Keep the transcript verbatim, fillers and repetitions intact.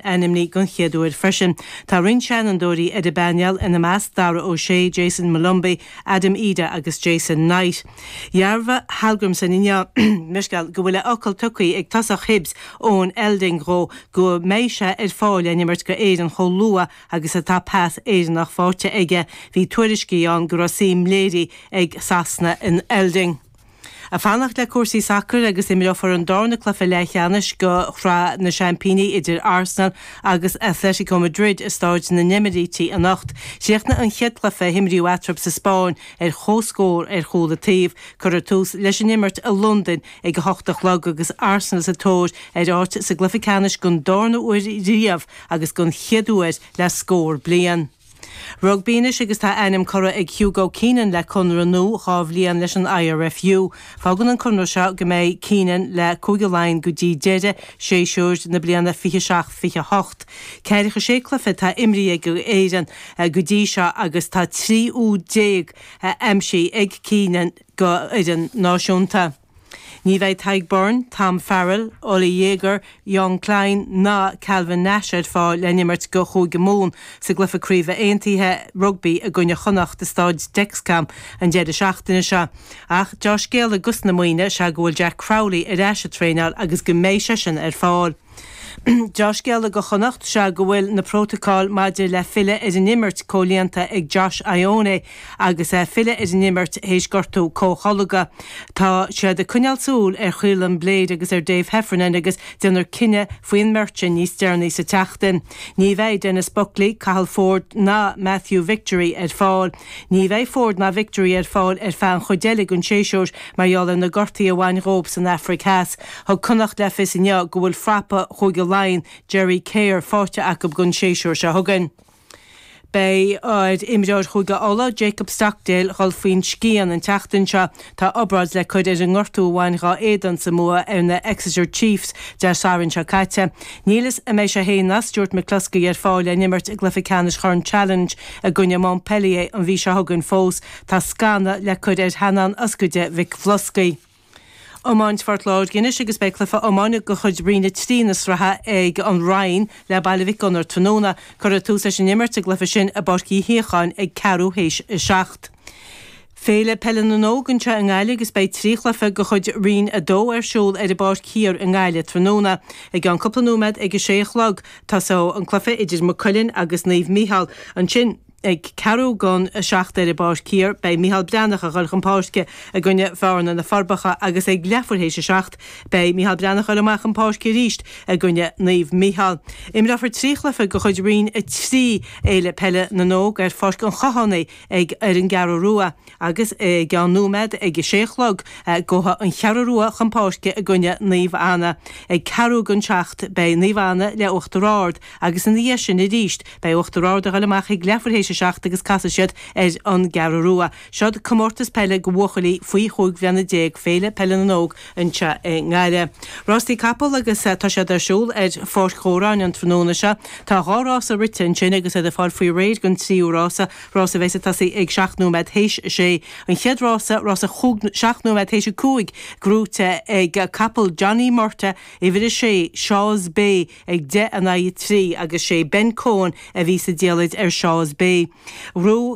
Ainmnithe den chéad uair freisin. Tá roinnt seanfhondúirí ar an bpainéal, ina measc Dara O'Shea, Jayson Molumby, Adam Idah agus Jason Knight. Dhearbhaigh Hallgrimsson inniu leithscéal go bhfuil a fhocal tugtha ag tosach Hibs Eoin Elding dhó go mbeidh sé ar fáil le n-imirt go Éirinn chomh luath agus atá pas Éireannach faighte aige. Bhí tuairiscí ann go raibh suim léirithe ag Sasana in Elding. Ag fanacht le cúrsaí sacair agus imreofar an darna cluiche leathcheannais go Shraith na Seaimpíní idir Arsenal agus Atletico Madrid i Stáid na nEimíríti anocht. Chríochnaigh an chéad chluiche a himríodh eatarthu sa Spáinn ar chomhscór ar chúl an taobh. Cuirfear tús leis an imirt i Londain ag a hocht a chlog agus Arsenal sa tóir ar áit sa gcluiche ceannais don darna huair riamh agus don chéad uair le scór bliain. Rugbaí anois agus tá ainm curtha ag Hugo Keenan le conradh nua dhá bhliain leis an I R F U. Fágann an conradh seo go mbeidh Keenan le Cúige Laighean go dtí deireadh séasúr na bliana fiche seacht fiche hocht. Ceathracha sé cluiche atá imrithe ag Éirinn go dtí seo agus tá trí úd déag aimsithe ag Keenan go fhoireann náisiúnta. Ní bheidh Tadhg Beirne, Tom Farrell, Oli Jager, Jean Kleyn ná Calvin Nash ar fáil le n-imirt go Chúige Mumhan sa gcluiche craoibhe aontaithe rugbaí i gcoinne Chonnacht i Staid Dexcom an deireadh seachtaine seo. Ach dea-scéala dos na Muimhnigh is ea go bhfuil Jack Crowley ar ais ag traenáil agus go mbeidh seisean ar fáil. Dea-scéala go Chonnacht is ea go bhfuil na prótacail maidir le filleadh ar an imirt comhlíonta ag Josh Ioane agus é filleadh ar an imirt théis gortú comhtholgtha. Tá siad ag coinneáil súil ar Chaolin Blade agus ar Dave Heffernan agus déanfar cinneadh faoin mbeirt sin níos deireanaí sa tseachtain. Ní bheidh Denis Buckley, Cathal Ford ná Matthew Victory ar fáil. Ní bheidh Ford ná Victory ar fáil ar feadh an chuid eile den séasúr mar gheall ar na gortuithe a bhain dhóibh san Afraic Theas. Thug Connacht le fios inniu go bhfuil frapa Chúige Laighean Jerry Kerr faighte acu don séasúr seo chugainn. Beidh ar imreoir Chúige Uladh Jacob Stockdale dhul faoin scian an tseachtain seo. Tá obráid le cur ar an ngortú a bhain dá éadan sa mbua ar na Exeter Chiefs Dé Sathairn seo caite. Níl a fhios an mbeidh sé féin ná Stuart McCloskey ar fáil le n-imirt i gcluiche ceannais Chorn Challenge i gcoinne Montpellier an mhí seo chugainn fós. Tá scanadh le cur ar theannán ioscaide McCloskey. Iomáint Phort Láirge anois agus beidh cluiche iomána de chuid Roinn a trí na sraithe ag an Rinn le Baile Mhic Gonair tráthnóna. Cuirfear tús leis an imirt i gcluiche sin i bPáirc Uí Shíocháin ag ceathrú théis a seacht. Féile Peile na nÓg anseo i nGaillimh agus beidh trí chluiche de chuid Roinn a dó ar siúl ar an bPáirc Thiar i nGaillimh tráthnóna. I gceann cúpla nóiméad ag a sé a chlog tosóidh an cluiche idir Maigh Cuilinn agus Naomh Mícheál. Ansin ag ceathrú don a seacht ar an bPáirc Thiar beidh Micheál Breathnach ag dul chun páirce i gcoinne Bhearna na Forbacha agus ag leathuair théis a seacht beidh Micheál Breathnach ag dul amach chun páirce arís i gcoinne Naomh Mícheál. Imreofar trí chluiche de chuid Roinn a trí Fhéile Peile na nÓg ar Pháirc an Chathánaigh ag ar an gCeathrú Rua agus i gceann nóiméad ag a sé a chlog gabhfaidh an Cheathrú Rua chun páirce i gcoinne Naomh Anna. Ag ceathrú don seacht beidh Naomh Anna le Uachtar Ard agus ina dhiaidh sin arís beidh Uachtar Ard ag dul amach ag leathuair théis a seacht agus casfaidh siad ar an gCeathrú Rua. Seod comórtas peile go bhuachaillí faoi chúig bhliana déag Féile Peile na nÓg anseo i nGaillimh. Rástaí capall agus tá siad ar siúl ar Pháirc Dhóráin an tráthnóna seo. Tá dhá rása rite ansin agus iad ag fáil faoi réir don tríú rása, rása a bheas ag tosaí ag seacht nóiméad théis a sé. An chéad rása, rása chúig seacht nóiméad théis a cúig, gnóthaithe ag capall Johnny Murtagh, uimhir a sé, Shaw's Bay ag deich in aghaidh a trí agus sé Ben Coen a bhí sa diallait ar Shaw's Bay. Ghnóthaigh